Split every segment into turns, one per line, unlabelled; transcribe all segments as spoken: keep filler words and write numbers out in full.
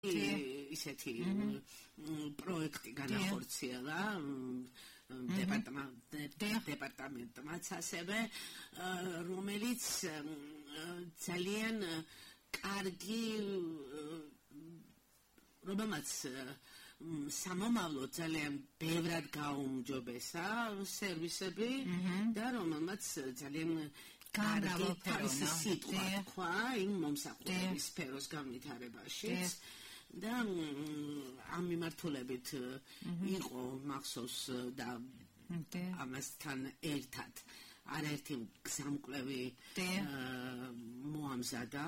ისეთი პროექტი განახორციელა დეპარტამენტმაც ასევე, რომელიც ძალიან კარგი რომელმაც სამომავლო ძალიან ბევრად გაუმჯობესა სერვისები და რომელმაც ძალიან კარგი თავისი სიტყვა თქვა იმ მომსახურების სფეროს განვითარებაში და ამ მიმართულებით იყო მახსოვს და ამასთან ერთად არაერთი გზამკვლევი მოამზადა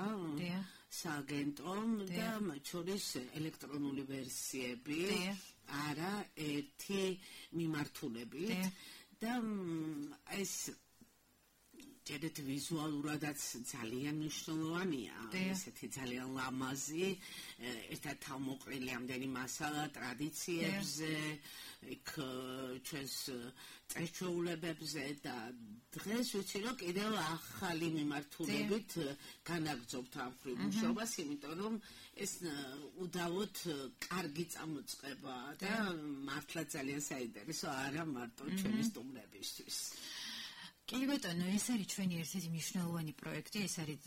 სააგენტომ და მათ შორის ელექტრონული ვერსიები არა ერთი მიმართულებით და ეს ჯერეთ ვიზუალურადაც ძალიან მნიშვნელოვანია ესეთი ძალიან ლამაზი ერთად თავმოყრილი ამდენი მასალა ტრადიციებზე იქ ჩვენს წესჩვეულებებზე და დღეს ვიცი რომ კიდევ ახალი მიმართულებით განაგრძობთ ამ მუშაობას იმიტომ რომ ეს უდავოდ კარგი წამოწყებაა და მართლა ძალიან საინტერესო არა მარტო ჩვენი სტუმრებისთვის
კი ბატონო, ეს არის ჩვენი ერთ-ერთი მნიშვნელოვანი პროექტი, ეს არის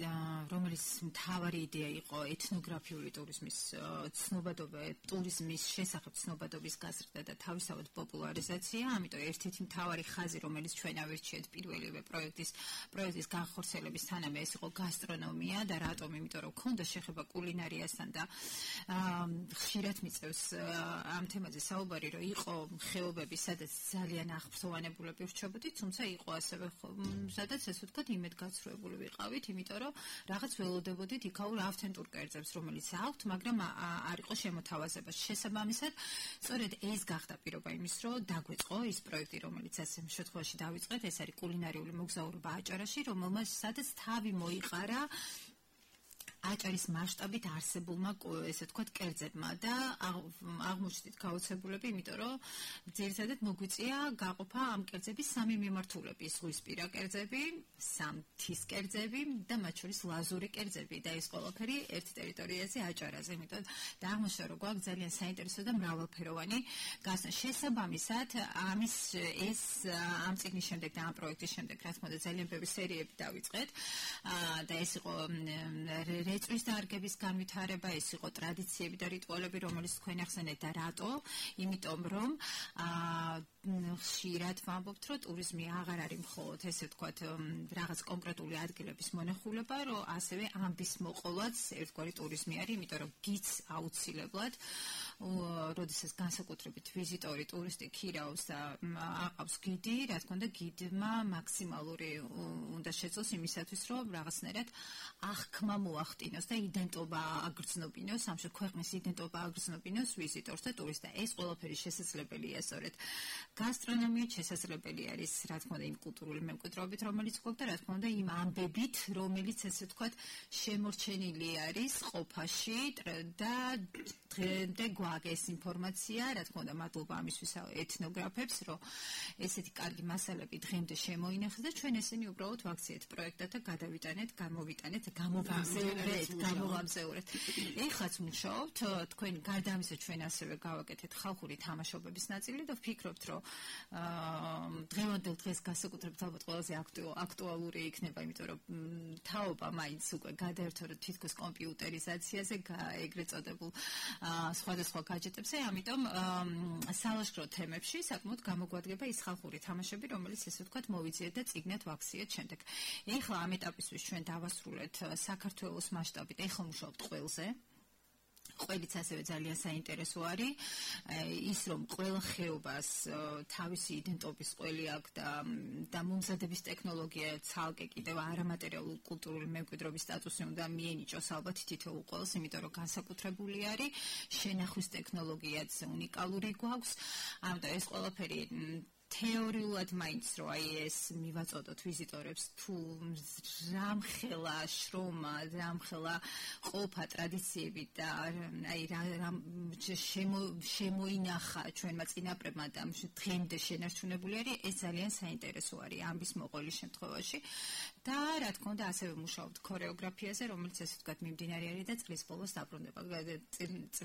რომელიც მთავარი იდეა იყო ეთნოგრაფიული ტურიზმის ცნობადობა, ტურიზმის შესახებ ცნობადობის გაზრდა და თავისთავად პოპულარიზაცია, ამიტომ ერთ-ერთი მთავარი ხაზი, რომელიც ჩვენ ავირჩიეთ პირველივე პროექტის პროექტის განხორციელების თანამე ეს იყო გასტრონომია და რატომ? იმიტომ რომ ქონდა შეხება კულინარიასთან და ხშირად მიწევს ამ თემაზე საუბარი, რომ იყო ხეობები, სადაც ძალიან აღფრთოვანებულები ვრჩებოდით, თუმცა იყო ასევე სადაც ესე ვთქვათ იმედგაცრუებული ვიყავით, იმიტომ რომ რაღაც ველოდებოდით იქაურ ავთენტურ კერძებს, რომელიც აქვთ, მაგრამ არ იყო შემოთავაზება. შესაბამისად, სწორედ ეს გახდა პირობა იმის, რომ დაგვეწყო ის პროექტი, რომელიც ასე შემთხვევაში დავიწყეთ, ეს არის კულინარიული მოგზაურობა აჭარაში, რომელმაც სადაც თავი მოიყარა აჭარის მასშტაბით არსებულმა ესე ვთქვათ კერძებმა და აღმოჩნდით გაოცებულები, იმიტომ რომ ძირითადად მოგვიწია გაყოფა ამ კერძების სამი მიმართულების: ზღვისპირა კერძები, სამთის კერძები და მათ შორის ლაზური კერძები და ეს ყველაფერი ერთ ტერიტორიაზე აჭარაზე, იმიტომ და აღმოჩნდა რომ გვაქვს ძალიან საინტერესო და მრავალფეროვანი გასნა. შესაბამისად, ამის ეს ამ წიგნის შემდეგ და ამ პროექტის შემდეგ, რა თქმა უნდა, ძალიან ბევრი სერიები დავიწყეთ და ეს იყო რეწვის დარგების განვითარება, ეს იყო ტრადიციები და რიტუალები, რომელიც თქვენ ახსენეთ და რატო? იმიტომ რომ ხშირად ვამბობთ, რომ ტურიზმი აღარ არის მხოლოდ ესე ვთქვათ რაღაც კონკრეტული ადგილების მონახულება, რომ ასევე ამბის მოყოლაც ერთგვარი ტურიზმი არის, იმიტომ რომ გიც აუცილებლად როდესაც განსაკუთრებით ვიზიტორი, ტურისტი ქირაობს და აყავს გიდი, რა თქმა უნდა, გიდმა მაქსიმალური უნდა შეძლოს იმისათვის, რომ რაღაცნაირად აღქმა მოახდინოს და იდენტობა აგრძნობინოს, ამჟამად ქვეყნის იდენტობა აგრძნობინოს ვიზიტორს და ტურისტს და ეს ყველაფერი შესაძლებელია სწორედ გასტრონომიით, შესაძლებელი არის, რა თქმა უნდა, იმ კულტურული მემკვიდრეობით, რომელიც გვაქვს და რა თქმა უნდა, იმ ამბებით, რომელიც ესე ვთქვათ, შემორჩენილი არის ყოფაში და დღემდე გვაქვს ეს ინფორმაცია, რა თქმა უნდა, მადლობა ამისთვის ეთნოგრაფებს, რომ ესეთი კარგი მასალები დღემდე შემოინახეს და ჩვენ ესენი უბრალოდ ვაქციეთ პროექტად და გადავიტანეთ, გამოვიტანეთ, გამოვამზეურეთ, გამოვამზეურეთ. ეხლაც მუშაობთ, თქვენ გარდა ამისა ჩვენ ასევე გავაკეთეთ ხალხური თამაშობების ნაწილი და ვფიქრობთ, რომ დღევანდელ დღეს განსაკუთრებით ალბათ ყველაზე აქტუალური იქნება, იმიტომ რომ თაობა მაინც უკვე გადაერთო თითქოს კომპიუტერიზაციაზე, ეგრეთ წოდებულ სხვადასხვა გაჯეტებზე, ამიტომ სალაშქრო თემებში საკმაოდ გამოგვადგება ის ხალხური თამაშები, რომელიც ესე ვთქვათ მოვიძიეთ და წიგნად ვაქციეთ შემდეგ. ეხლა ამ ეტაპისთვის ჩვენ დავასრულეთ საქართველოს მასშტაბით, ეხლა მუშაობთ ყველზე. ყველიც ასევე ძალიან საინტერესო არის ის რომ ყველა ხეობას თავისი იდენტობის ყველი აქვს და და მომზადების ტექნოლოგია ცალკე კიდევ არამატერიალური კულტურული მემკვიდრეობის სტატუსი უნდა მიენიჭოს ალბათ თითოეულ ყველას, იმიტომ რომ განსაკუთრებული არის შენახვის ტექნოლოგიაც უნიკალური გვაქვს, ამიტომ ეს ყველაფერი თეორიულად მაინც რო აი ეს მივაწოდოთ ვიზიტორებს თუ რამხელა შრომა, რამხელა ყოფა ტრადიციები და აი რა შემოინახა ჩვენმა წინაპრებმა და დღემდე შენარჩუნებული არის, ეს ძალიან საინტერესო არის ამის მოყოლის შემთხვევაში. და რა თქმა უნდა ასევე მუშაობთ ქორეოგრაფიაზე, რომელიც ესე ვთქვათ მიმდინარე არის და წლის ბოლოს დაბრუნდება.